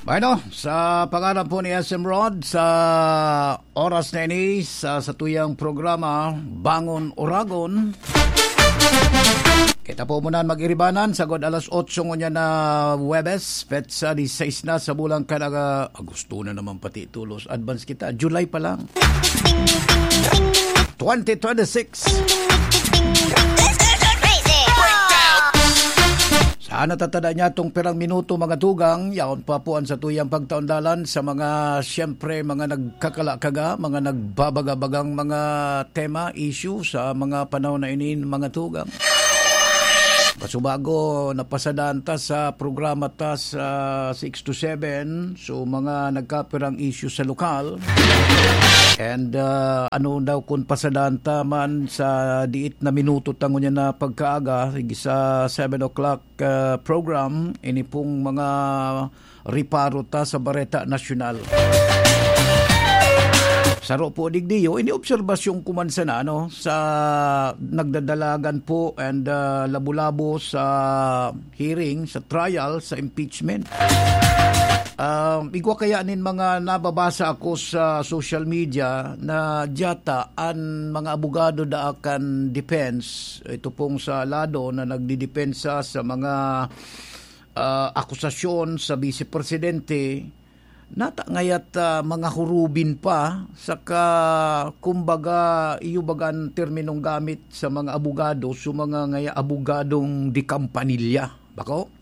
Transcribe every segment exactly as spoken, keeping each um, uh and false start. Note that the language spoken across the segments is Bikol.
Bueno, sa pangalan po ni S M Rod, sa oras na ini, sa satuyang programa, Bangon Oragon. Kita po muna mag-iribanan, sagod alas otso ngunyan na Huwebes, petsa diseis na sa bulan kalaga, Agosto na naman pati tulos, advance kita, July pa lang. Twenty twenty-six. Sa natatada niya tong pirang minuto, mga tugang, yaon pa po ang satuyang pagtaon dalan sa mga, siyempre, mga nagkakalakaga, mga nagbabagabagang mga tema, issue sa mga panahon na ini, mga tugang. Pasubago, napasadaan ta sa programa ta sa six to seven. So, mga nagkapirang issue sa lokal. And, ah, ano daw kung pasadaan ta man sa diit na minuto tango niya na pagkaaga, sige sa seven o'clock, ah, program, ini pong mga reparo ta sa Bareta Nasyonal. Saro po digdiyo, ini obserbasyon ko man sana, ano, sa nagdadalagan po and, ah, labo-labo sa hearing, sa trial, sa impeachment. Um, igwa kaya nin mga nababasa ako sa social media na diyata an mga abogado da kan defense, ito pong sa lado na nagdidepensa sa mga, ah, akusasyon sa Vice Presidente, nata ngayat, ah, mga hurubin pa, saka, kumbaga, iyo baga an terminong gamit sa mga abogado, so mga ngaya abogadong de kampanilya. Bako?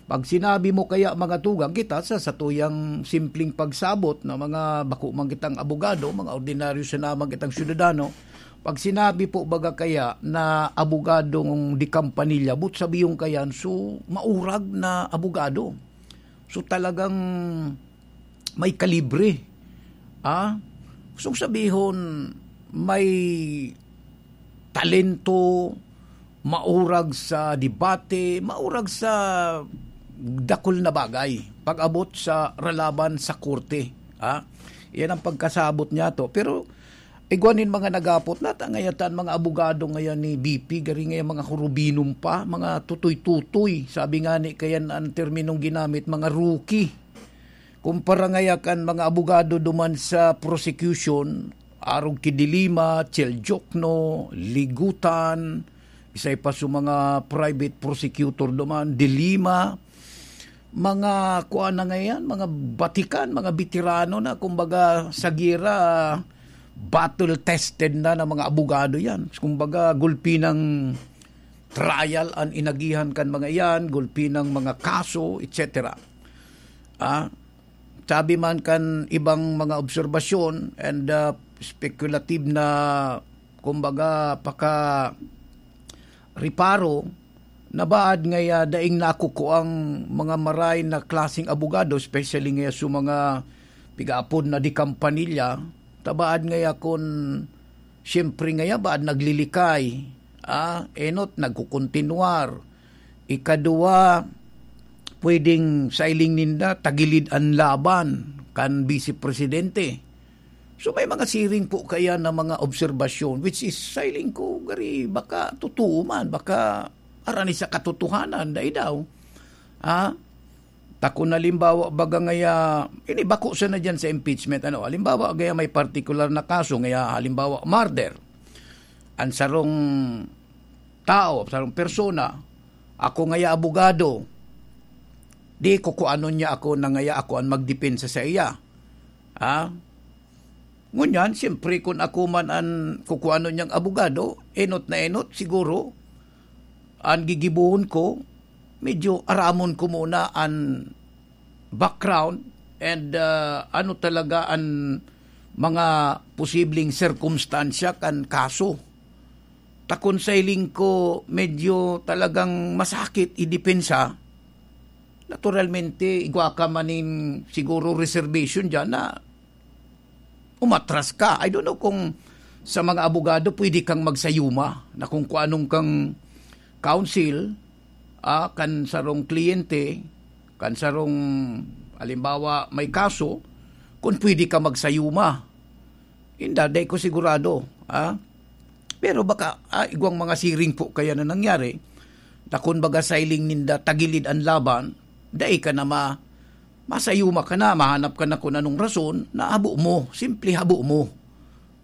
Pag sinabi mo kaya, mga tugang, kita sa satuyang simpleng pagsabot na mga bako man kitang abogado, mga ordinaryo sana man kitang syudadano, pag sinabi po baga kaya na abogadong de kampanilya, but sabi yung kayan, so maurag na abogado. So talagang may kalibre. Ah, gustong sabihon, may talento, maurag sa debate, maurag sa dakul na bagay pag-abot sa ralaban sa korte. Ah, yan ang pagkasabot niya to. Pero igwa nin mga nagapot, nata ngayatan mga abogado ngayon ni B P, gari ngayon mga hurubinom pa, mga tutoy-tutoy. Sabi nga ni, kayan ang terminong ginamit, mga rookie. Kumpara ngaya kan mga abogado duman sa prosecution, arog ki De Lima, Chel Diokno, Ligutan, isay pa sa mga private prosecutor duman, De Lima, mga kuan na ngayan, mga batikan, mga beterano na, kumbaga, sa giyera, battle-tested na na mga abogado yan. Kumbaga, gulpi ng trial an inagihan kan mga iyan, gulpi ng mga kaso, et cetera. Ah, sabi man kan ibang mga obserbasyon and, ah, speculative na, kumbaga, paka reparo, nabaad ngaya daing nakukuang mga maray na klaseng abogado, especially ngaya sa mga pigaapod na de kampanilya, tabaad ngaya kun siyempre ngaya baad naglilikay, ah, enot nagkukontinuar. Ikaduwa, pwedeng sa iling ninda, tagilid an laban kan Vice Presidente. So, may mga siring po kaya na mga obserbasyon, which is, sa iling ko, gari, baka totoo man, baka arani sa katotohanan, dai daw. Ha? Takon halimbawa, baga ngaya, ini bako sana dyan sa impeachment, ano, halimbawa, gaya may particular na kaso, ngaya, halimbawa, murder. Ang sarong tao, sarong persona, ako ngaya abogado, di ko kuanon niya ako na ngaya ako ang magdepensa sa iya. Ha? Ngunyan, siyempre, kun ako man an kukuanon niyang abogado, enot na enot, siguro, an gigibohon ko, medyo aramon ko muna an background and, ah, ano talaga an mga posibleng sirkumstansya kan kaso. Ta kun sa hiling ko, medyo talagang masakit idepensa. Naturalmente, igwa ka man nin siguro reservation diyan na umatras ka. I don't know kung sa mga abogado pwede kang magsayuma na kung kuanong kang counsel, ah, kan sarong kliyente, kan sarong, halimbawa, may kaso, kung pwede ka magsayuma. Inda, dai ko sigurado, ah. Pero baka, ah, igwang mga siring po kaya na nangyari, na kun baga sa hiling ninda tagilid an laban, dai ka na ma-, masayuma ka na, mahanap ka na kung anong rason na habo mo, simple habo mo.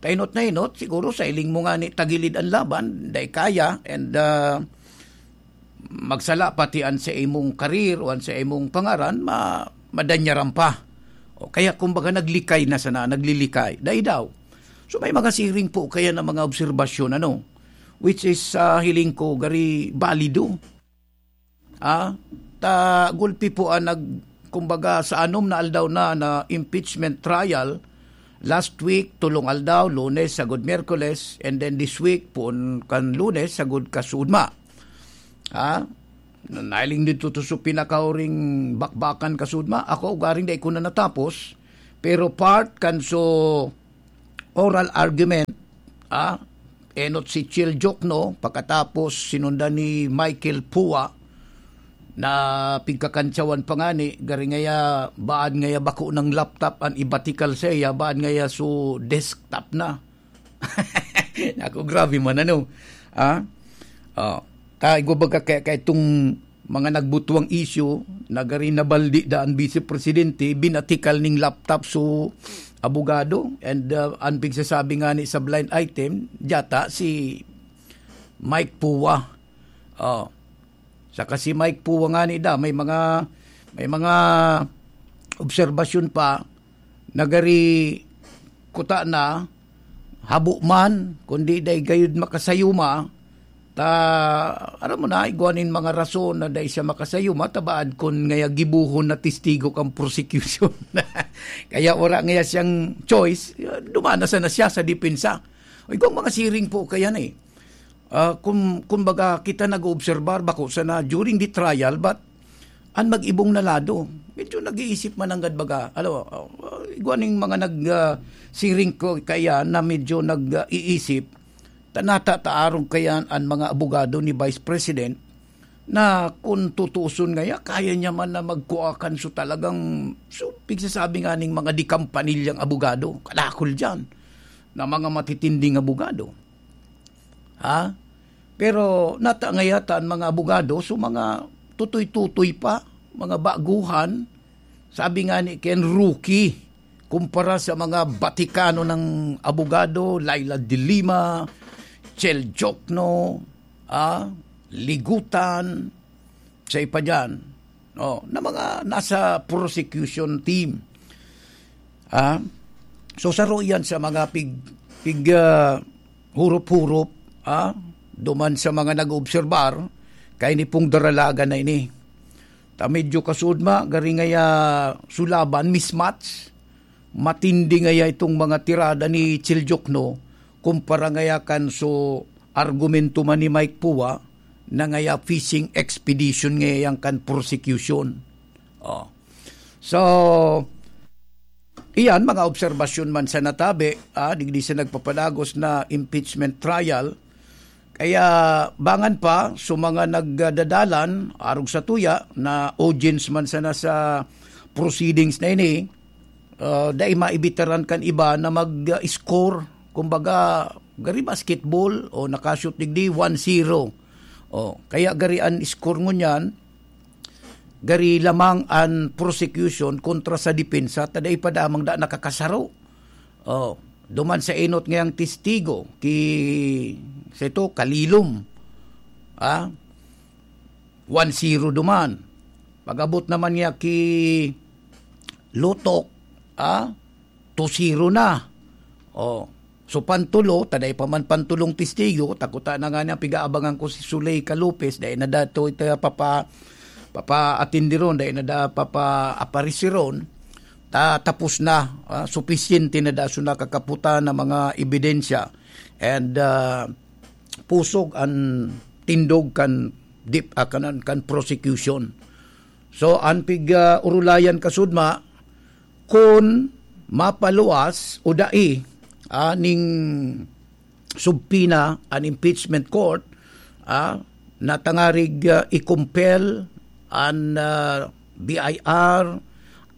Kainot na inot, siguro sa hiling mo nga ni tagilid ang laban, dai kaya, and ah, magsala pati an sa imong karir o an sa imong pangaran, ma-, madanyaran pa. O kaya, kumbaga, naglikay na sana, naglilikay. Dai daw. So, may mga siring po kaya na mga obserbasyon, ano, which is, ah, hiling ko, gari balido. Ah, ta gulpi po ang nag-, kumbaga, sa anom na aldaw na, na impeachment trial, last week, tolong aldaw, Lunes, sagod Miyerkules, and then this week, poon kan Lunes, sagod kasudma. Ah, na-, nailing dito to sa pinakahuring bakbakan kasudma. Ako, ugaring dai ko na natapos, pero part kan so oral argument, ah, enot si Chil Jokno, pagkatapos sinundan ni Michael Pua, na pigkakantsawan pa ngani, gari ngaya, baad ngaya bako ng laptop an ibatikal saiya, baad ngaya so desktop na. Naku, grabe man, ano? Ah? Oh. Ta, igwa baga kaya, kaya itong mga nagbutwang isyu, nagari nabaldi da an Vice Presidente, binatikal ning laptop so abogado, and, uh, an pigsasabi ngani sa blind item, diyata si Mike Pua. Oh. Saka si Mike Pua ngani da, may mga, may mga obserbasyon pa, nagari kuta na, habo man, kundi dai gayud makasayuma, ta, aram mo na, igwa nin mga rason na dai siya makasayuma, tabaad kun ngaya gibohon na testigo kan prosecution. Kaya wala ngaya siyang choice, dumana sana siya sa depensa. O, igwang mga siring po kaya na eh. Ah, kun, kumbaga, kita nag-oobserbar, bako sana during the trial, but an mag-ibong na lado, medyo nag-iisip man nanggad baga. Alam mo, ah, igwa ning mga nag, ah, siring ko kaya na medyo nag-iisip, tanata ta arog kaya an mga abogado ni Vice President na kun tutuuson ngaya, kaya niya man na magkuha kan so talagang, so, pigsasabi nga ning mga dikampanilyang abogado, kadakol diyan, na mga matitinding abogado. Ha? Pero nata ngaya ta an mga abogado, so mga tutoy-tutoy pa, mga baguhan, sabi nga ni Ken, rookie, kumpara sa mga batikano ng abogado, Laila de Lima, Chel Jokno, ah, Ligutan, sa ipa dyan, no, na mga nasa prosecution team. Ah, so, saro yan sa mga pig-, pig-, ah, hurop-hurop, ah, duman sa mga nag-oobserbar, kay ni pong daralagan na ini. Ta medyo kasudma, gari ngaya sulaban, mismatch. Matindi ngaya itong mga tirada ni Chil Jokno, kumpara ngaya kan so argumento man ni Mike Pua, na ngaya fishing expedition ngaya yan kan prosecution. Oh. So, iyan, mga obserbasyon man sa natabi, ah, digdi sa nagpapadagos na impeachment trial. Kaya bangan pa, so mga nagdadalan, arog sa tuya, na audience man sana sa proceedings na ini, ah, dai maibitaran kan iba na mag-score. Kumbaga, gari basketball, o nakashoot digdi, one zero. O, kaya gari an score ngunyan, gari lamang an prosecution kontra sa depensa, ta dai pa damang da nakakasaro. O, duman sa enot ngayang testigo, ki, sa ito, Kalilom. Ah, one zero duman. Pag-abot naman niya ki Lotok, ah, two zero na. O, so pantulo, ta dai pa man pantulong testigo, ta kuta na nga niya, pigaabangan ko si Zuleika Lopez, dai na dato ito papa-, papa-atindi ron, dai na da papa-aparisi ron. Ta-, tapos na, ah, supisyente na da so nakakaputa na mga ebidensya. And, ah, pusog an tindog kan dip-, ah, kanan, kan prosecution. So, an pig, ah, urulayan kasudma, kun mapaluwas o dai, ah, ning subpoena an impeachment court, ah, na tangarig, ah, i-compel an, ah, B I R,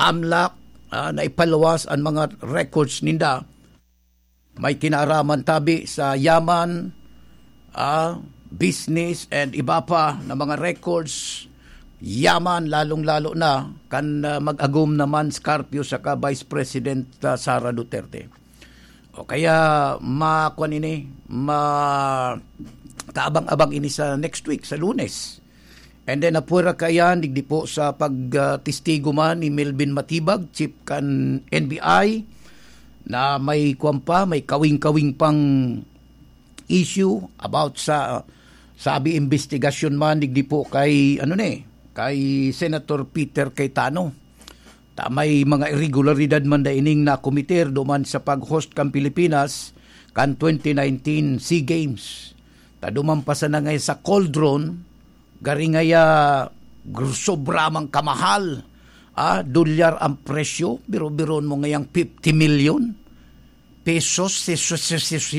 AMLAC, ah, na ipaluwas an mga records ninda. May kinaaraman tabi sa yaman, ah, business, and iba pa na mga records yaman, lalong-lalo na kan, ah, mag-agom naman si Carpio saka Vice President, ah, Sara Duterte. O kaya, makuan ini, ma-, kaabang-abang ini sa next week, sa Lunes. And then, apwera kaiyan, digdi po sa pag, ah, testigo man ni Melvin Matibag, chief kan N B I, na may kuwan pa, may kawing-kawing pang issue about sa, sabi, investigasyon man, digdi po kay, ano ni, kay Senator Peter Cayetano. Ta may mga irregularidad man da ining nakometer duman sa pag-host kan Pilipinas kan twenty nineteen SEA Games. Ta duman pa sana ngay sa cauldron, gari ngaya gr-, sobra mang kamahal. Ah, dolyar ang presyo, biro-biroon mo ngayang fifty million pesos, si, si, si, si,